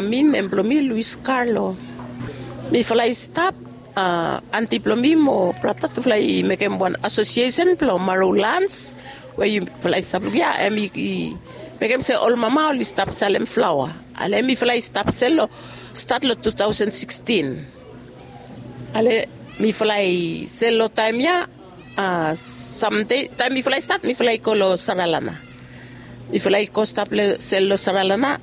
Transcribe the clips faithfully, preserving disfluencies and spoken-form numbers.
Mi nem blong mi Luis Carlo. Mifala i stap, anti blong mi mo brata tufala i mekem wan asosiesen blong Maru Lans, we yufala i stap luk ya, em i mekem se ol mama oli stap salem flaoa. Ale mifala i stap sel long stat long two thousand sixteen. Ale mifala i sel long taem ya. Samdei taem mifala i stat mifala i go long Saralana. Mifala i go stap sel long Saralana.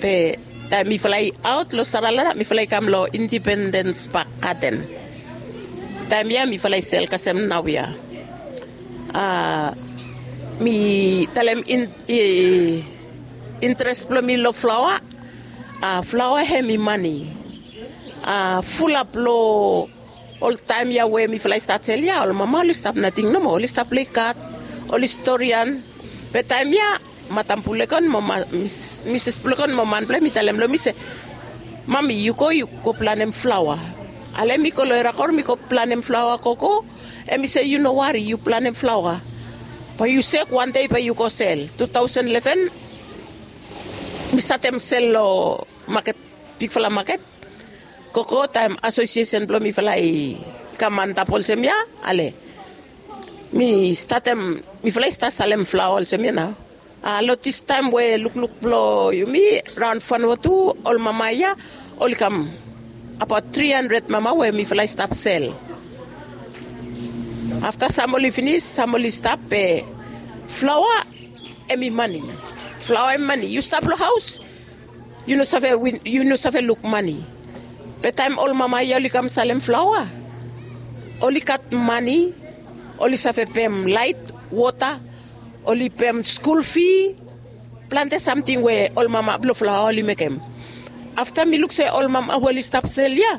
Be taem mifala i aot long Saralana mifala i kam long Indipendens Pak Gaden. Taem ya mifala i sel kasem naoia. Mi talem intres blong mi long flaoa. Flaoa hem i mani. Fulap long ol taem ya we mifala i stat sel ya ol mama oli stap nating nomo, oli stap plei kat, oli storian. Be taem ya madam Pulegon mo misis Pulegon mo manpela em i talem long mi se, mami yu go yu go planem flaoa. Ale mi go long erakor mi go planem flaoa gogo. Em i se yu no wari yu planem flaoa. Bae yu sek wandei bae yu go sel. Two thousand eleven mi statem sel long maket, bigfala maket. Gogo taem asosiesen blong mifala i kam antap olsem ya. Ale mi statem mifala i stat salem flaoa olsem ya nao. Long distaem we lukluk blong yumi raon fanua tu ol mama ya oli kam abaot tri handred mama we mifala i stap sel. Afta sam oli finis sam oli stap be flaoa em i mani. Flaoa em i mani yu stap long haos yu no save win yu no save luk mani. Be taem ol mama ya oli kam salem flaoa oli gat mani. Oli save pem lait wota oli pem skul fi. Plante samting we ol mama blong flaoa oli mekem. Afta mi luk se ol mama we oli stap sel ya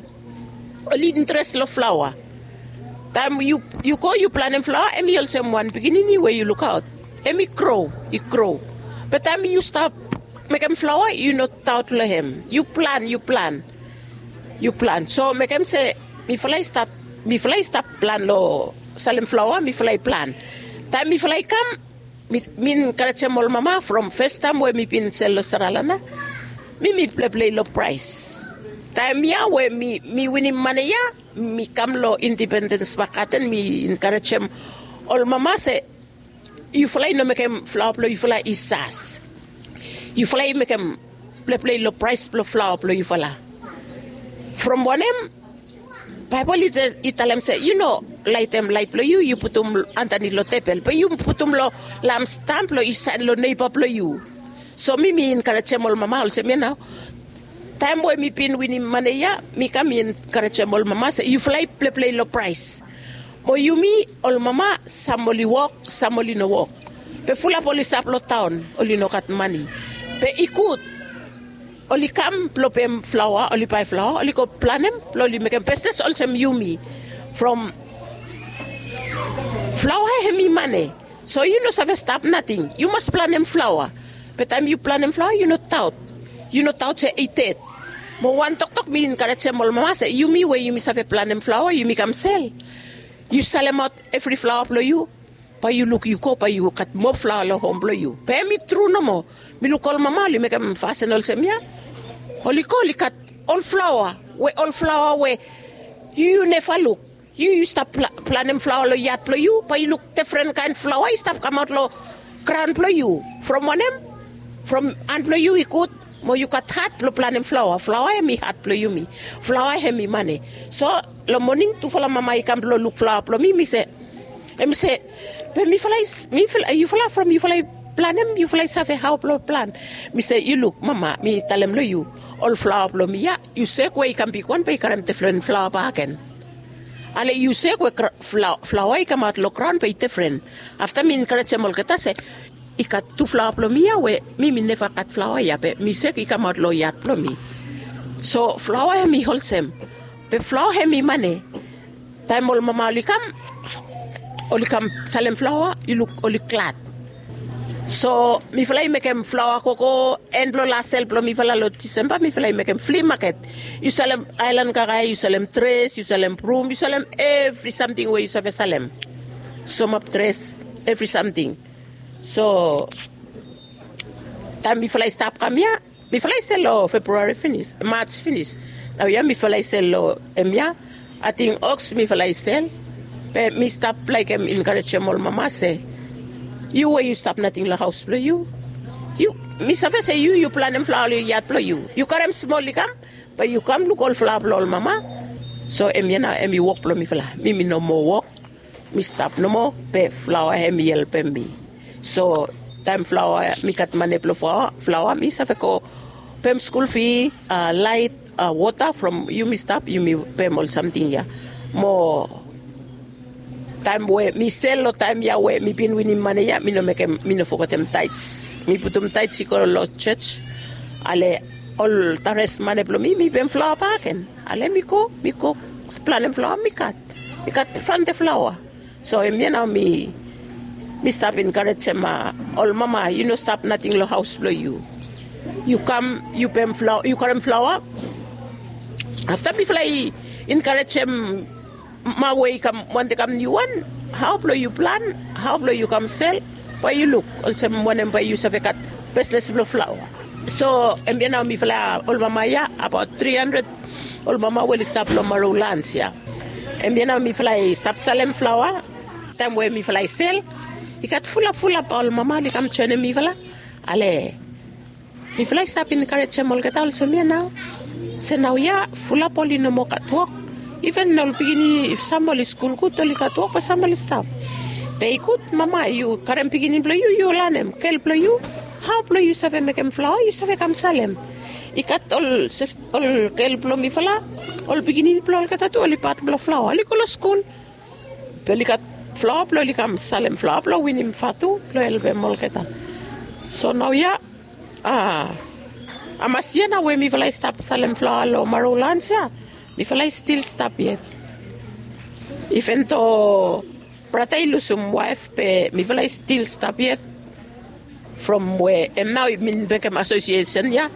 oli interes long flaoa. Taem yu go yu planem flaoa em i olsem wan pikinini we yu lukaot. Em i gro i gro. Be taem yu stap mekem flaoa yu no taot long hem yu plan yu plan. Yu plan so mekem se mifala i stat mifala i stap plan long salem flaoa mifala i plan. Taem mifala i kam mi enkarejem ol mama from festaem we mi bin sel long saralana. Mi mi pleplei long praes taem ya we mi winim mane ya mi kam long indipendens bakaten mi enkarejem ol mama se yufala i no mekem flaoa blong yufala i sas. Yufala i mekem pleplei long praes blong flaoa blong yufala. From wanem baebol i talem se yu no laitem lait blong yu yu putum andanit long tebel be yu putum long lamstam blong i saen long neiba blong yu. So mi mi enkarejem ol mama olsem ya nao. Taem we mi bin winim mane ya mi kam mi enkarejem ol mama se yufala i pleplei long praes. Mo yumi ol mama sam oli wok sam oli no wok. Be fulap oli stap long taon oli no gat mani. Be i gud oli kam blong pem flaoa oli bae flaoa oli go planem blong oli mekem bisnes olsem yumi. From flaoa hem i mane. So yu no save stap nating yu mas planem flaoa. Be taem yu planem flaoa yu no taot yu no taot se i ded. Mo wan toktok mi enkarejem ol mama se yumi we yumi save planem flaoa yumi kam sel. Yu salemaot evri flaoa blong yu. Bae yu luk yu go bae yu gat moa flaoa long hom blong yu be em i tru nomo. Mi luk ol mama oli mekem fasin olsem ya. Oli go oli gat ol flaoa we ol flaoa we yu yu neva luk. Yu yu stap planem flaoa long yat blong yu bae yu luk defren kaen flaoa i stap kamaot long graon blong yu. From wanem from han blong yu i gud mo yu gat hat blong planem flaoa flaoa hem i hat blong yumi. Flaoa hem i mane. So long moning tufala mama i kam blong luk flaoa blong mi mi se em i se be mifala i yufala from yufala i planem yufala i save hao blong plan. Mi se yu luk mama mi talem long yu ol flaoa blong mi ya yu sek we i kam bigwan be i karem defren flaoa baken. Ale yu sek we flaoa i kamaot long graon be i defren. Afta mi enkarejem olgeta se i gat tu flaoa blong mi ya we mi mi neva gat flaoa ya be mi sek i kamaot long yat blong mi. So flaoa hem i olsem be flaoa hem i mane. Taem ol mama oli kam oli kam salem flaoa yu luk oli glad. So mifala i mekem flaoa gogo en blong las sel blong mifala long disemba mifala i mekem fli maket. Yu salem aelan kakae yu salem dres yu salem brum yu salem evri samting we yu save salem. Somap dres evri samting. So taem mifala i stap kam ya Mifala i sel long Februari finis, Maj finis. Naoia mifala i sel long hemia. Ating oks mifala i sel. Be mi stap laekem enkarejem ol mama se, yu we yu stap nating long haos blong yu, yu mi save se yu yu planem flaoa long yat blong yu. Yu karem smol i kam, be yu kam luk ol flaoa blong ol mama. So hemia nao hemi wok blong mifala. Mi mi no moa wok. Mi stap nomo, be flaoa hemi helpem mi. So taem flaoa mi gat mane blong flaoa, mi save go pem skul fi, laet, wota from yumi stap yumi pem ol samting ya. Mo taem we mi sel long taem ya we mi bin winim mane ya, mi no mekem, mi no fogetem taets. Mi putum taets i go long jos. Ale ol tares mane blong mi mi pem flaoa bakegen. Ale mi go, mi go planem flaoa mi gat, mi gat plante flaoa. So hemia nao mi mi stap enkarejem ol mama, yu no stap nating long haos blong yu. Yu kam yu pem flaoa, yu karem flaoa. Afta mifala i enkarejem mama we i kam, wantem kam niuwan, hao blong yu plan, hao blong yu kam sel, bae yu luk olsem wanem bae yu save gat bisnes blong flaoa. So hemia nao mifala ol mama ya abaot tri handred ol mama we oli stap long Marulans ya. Hemia nao mifala i stap salem flaoa. Taem we mifala i sel, i gat fulap fulap ol mama oli kam joenem mifala. Ale mifala i stap enkarejem olgeta olsem ya nao, se naoia fulap oli no moa gat wok. Iven ol pikinini, sam oli skul gud, oli gat wok be sam oli stap. Be i gud mama yu karem pikinini blong yu, yu lanem gel blong yu, hao blong yu save mekem flaoa yu save kam salem. I gat ol gel blong mifala, ol pikinini blong olgeta tu oli pat blong flaoa, oli go long skul. Be oli gat flaoa blong oli kam salem flaoa blong winim vatu blong helpem olgeta. So naoia, a hamas yia nao we mifala i stap salem flaoa long Marulans ya, mifala i stil stap yet. Iven do brata i lusum waef be mifala i stil stap yet. From we hem nao i bin mekem asosiesen ya,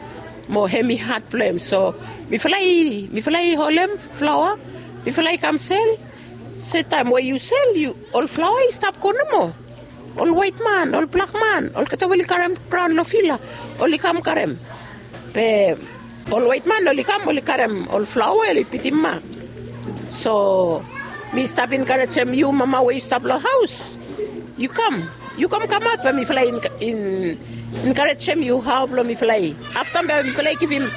mo hem i had blong hem. So mifala i holem flaoa, mifala i kam sel. Se taem we yu sel, ol flaoa i stap go nomo. Ol waetman, ol blakman, olgeta we oli karem graon long fil ya, oli kam karem. Be ol waetman oli kam oli karem ol flaoa we oli bitim mak. So mi stap enkarejem yu mama we yu stap long haos, yu kam, yu kam kamaot be mifala i enkarejem yu hao blong mifala i, afta be mifala i givim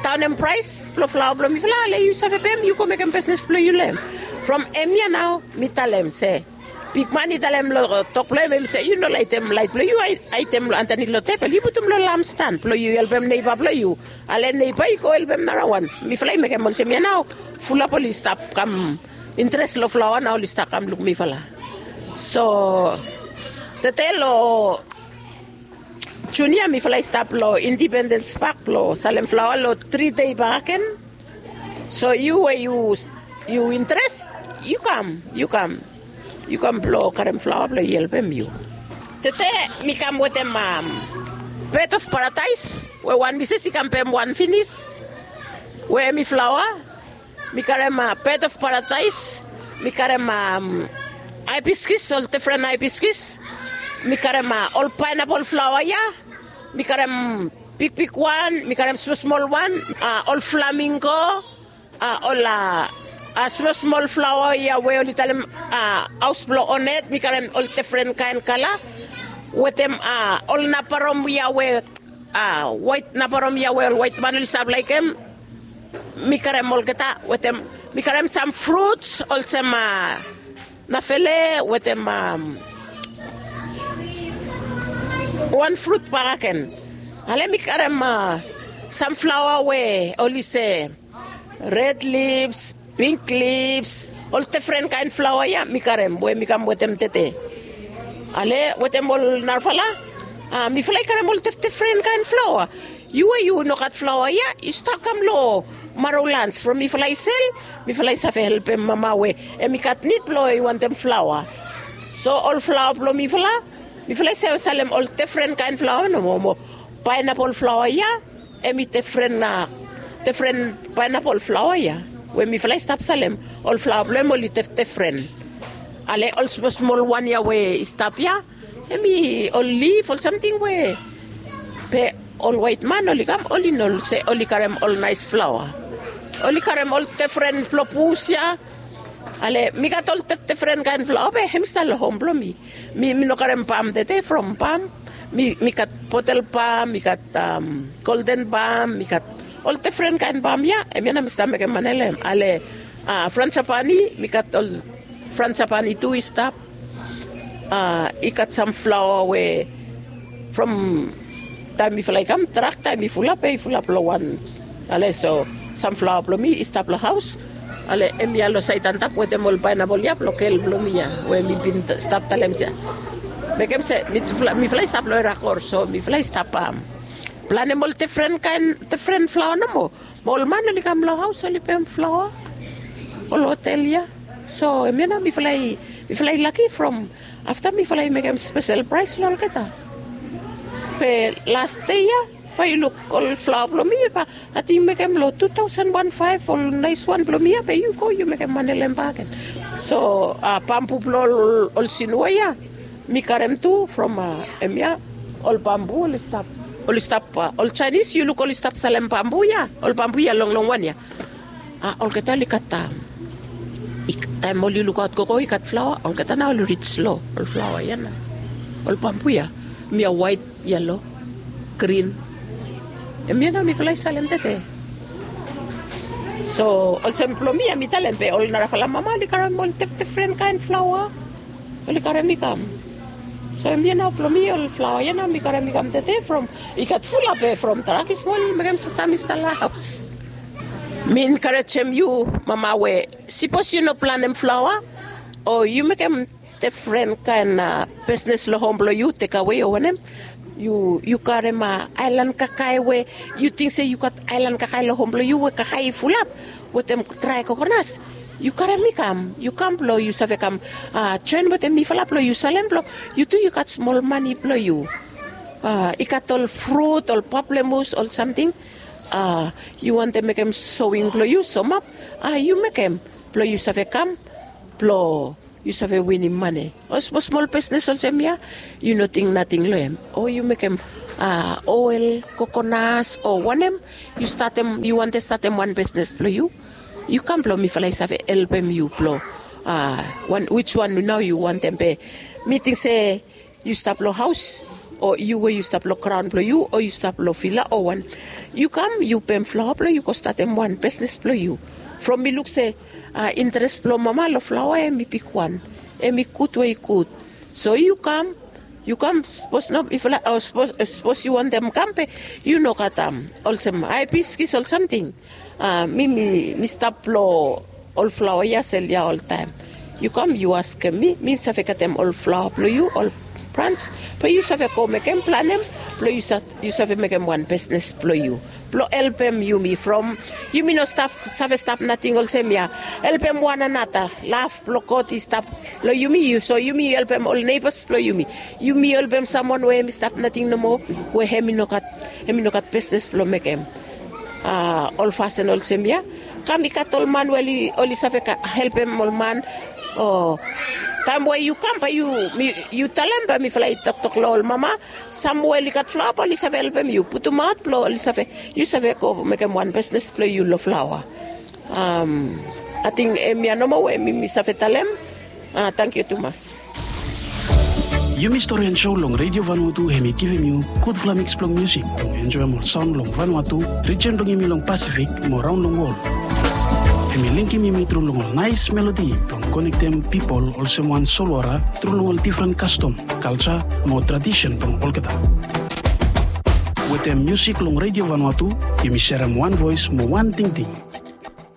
daonem praes blong flaoa blong mifala, ale yu save pem yu go mekem bisnes blong yu long hem. From hemia nao mi talem se, bigman i talem long tok blong hem, hem se yu no laetem laet blong yu aetem long andanit long tebol, yu putum long lamstan blong yu helpem neiba blong yu. Ale neiba i go helpem narawan. Mifala i mekem olsem ya nao, fulap oli stap kam interes long flaoa nao oli stap kam luk mifala. So tede long Jun ya mifala i stap long Indipendens Pak blong salem flaoa long tri dei bakegen. So yu we yu interes, yu kam, yu kam, yu kam blong karem flaoa blong yu helpem yu. Tede mi kam wetem bed of paradaes we wan misis i kam pem wan finis, we hem i flaoa. Mi karem bed of paradaes, mi karem haibiskis, ol difren haibiskis. Mi karem ol paenapol flaoa ya. Mi karem bigbigwan, mi karem smolsmolwan, ol flamingo, ol smolsmol flaoa ya we oli talem haos blong onet, mi karem ol difren kaen kala. Wetem ol nabarom ya we, waet nabarom ya we ol waetman oli stap laekem. Mi karem olgeta wetem, mi karem sam fruts olsem nafele wetem wan frut bakegen. Ale mi karem sam flaoa we oli se red lips, pink lips, ol difren kaen flaoa ya mi karem we mi kam wetem tede. Ale wetem ol narafala, mifala i karem ol difdifren kaen flaoa. Yu we yu no gat flaoa ya, yu stap kam long Marulans from mifala i sel. Mifala i save helpem mama we hem i gat nid blong i wantem flaoa. So ol flaoa blong mifala, mifala i save salem ol difren kaen flaoa nomo. Mo paenapol flaoa ya, hem i difren, difren paenapol flaoa ya we mifala i stap salem. Ol flaoa blong hem oli difdifren. Ale ol smolsmolwan ya we i stap ya, hem i ol lif ol samting we, be ol waet man oli kam, oli no se oli karem ol naes flaoa. Oli karem ol defren blo bus ya. Ale mi gat ol defren kaen flaoa be hem i stap lo hom blo mi. Mi mi no karem bam tede from bam. Mi mi gat botel bam, mi gat golden bam, mi gat ol defren kaen bam ya. Hemia nao mi stap mekem manele hem. Ale frans japani, mi gat ol frans japani tu i stap. I gat sam flaoa we from taem mifala i kam, trak taem i fulap be i fulap lo wan. Ale so sam flaoa blo mi i stap lo haos. Ale hemia lo saed antap wetem ol paenapol ya blo gel blo mi ya we mi bin stap talem se mekem se mifala i stap lo erakor, so mifala i stap planem ol defren kaen defren flaoa nomo. Mo ol man oli kam lo haos oli pem flaoa ol hotel ya. So hemia nao mifala i mifala i laki from afta mifala i mekem spesel praes lo olgeta. Be las dei ya bae yu luk ol flaoa blo mi, bae ating mekem lo tu taosen wan faef ol naes wan blo mi ya, be yu go yu mekem manele hem bakegen. So bambu blo ol sinua ya mi karem tu from hemia. Ol bambu oli stap, oli stap ol jaenis yu luk oli stap salem bambu ya, ol bambu ya longlong wan ya. Olgeta oli gat taem oli lukaot gogo i gat flaoa, olgeta nao oli rij lo ol flaoa ya nao. Ol bambu ya, hemia waet, yelo, grin. Hemia nao mifala i salem tede. So olsem blo mi ya mi talem be ol narafala mama oli karem ol defdefren kaen flaoa. Oli karem i kam. So hemia nao blo mi ol flaoa ya nao mi karem i kam tede from i gat fulap be from trak i smol mekem sasam i stap lo haos. Mi enkarejem yu mama we sipos yu no planem flaoa o yu mekem defren kaen bisnes lo hom blo yu, tekawe o wanem, yu karem aelan kakae we yu ting se yu gat aelan kakae lo hom blo yu we kakae i fulap wetem drae kokonas. Yu karem i kam, yu kam blo yu save kam joen wetem mifala blo yu salem blo yu tu yu gat smol mane blo yu. I gat ol frut, ol paplemus, ol samting. Yu wantem mekem sowing blo yu somap, yu mekem blo yu save kam blo yu save winim mane. O smosmol bisnes olsem ya, yu no ting nating lo hem. O yu mekem oel, kokonas o wanem, yu wantem statem wan bisnes blo yu. Yu kam blo mifala i save helpem yu blo wiswan nao yu wantem be. Mi ting se yu stap lo haos o yu we yu stap lo graon blo yu o yu stap lo vila o wan, yu kam yu pem flaoa blo yu go statem wan bisnes blo yu. From mi luk se interes blo mama lo flaoa hem i bigwan, hem i gud we i gud. So yu kam, yu kam sapos no mifala o sapos yu wantem kam be yu no gat olsem hae biskis ol samting. Mi mi stap lo ol flaoa ya sel ya oltaem. Yu kam yu askem mi, mi save getem ol flaoa blo yu, ol brans, blo yu save go mekem planem blo yu save mekem wan bisnes blo yu blo helpem yumi from yumi no stap save stap nating olsem ya. Helpem wan anata, lav blo God i stap lo yumi, so yumi helpem ol neibas blo yumi. Yumi helpem samwan we hem i stap nating nomo, we hem i no gat hem i no gat bisnes blo mekem. Ol fasin olsem ya. Kam i gat ol man we oli save helpem ol man. O taem we yu kam bae yu talem bae mifala i toktok lo ol mama, sam we oli gat flaoa bae oli save helpem yu putumaot blo oli save, yu save go mekem wan bisnes blo yu lo flaoa. Ating hemia nomo we mi mi save talem. Tangkiu tumas. Yumi Storian Show long Radio Vanuatu hem i givim yu gudfala miks blong musik blong enjoem ol saon long Vanuatu, rijen blong yumi long Pasifik mo raon long wol. Hem i linkim yumi tru long ol naes melodi blong konektem pipol olsem wan solwara tru long ol difren kastom, kalja mo tradisen blong olgeta. Wetem musik long Radio Vanuatu yumi serem wan voes mo wan tingting.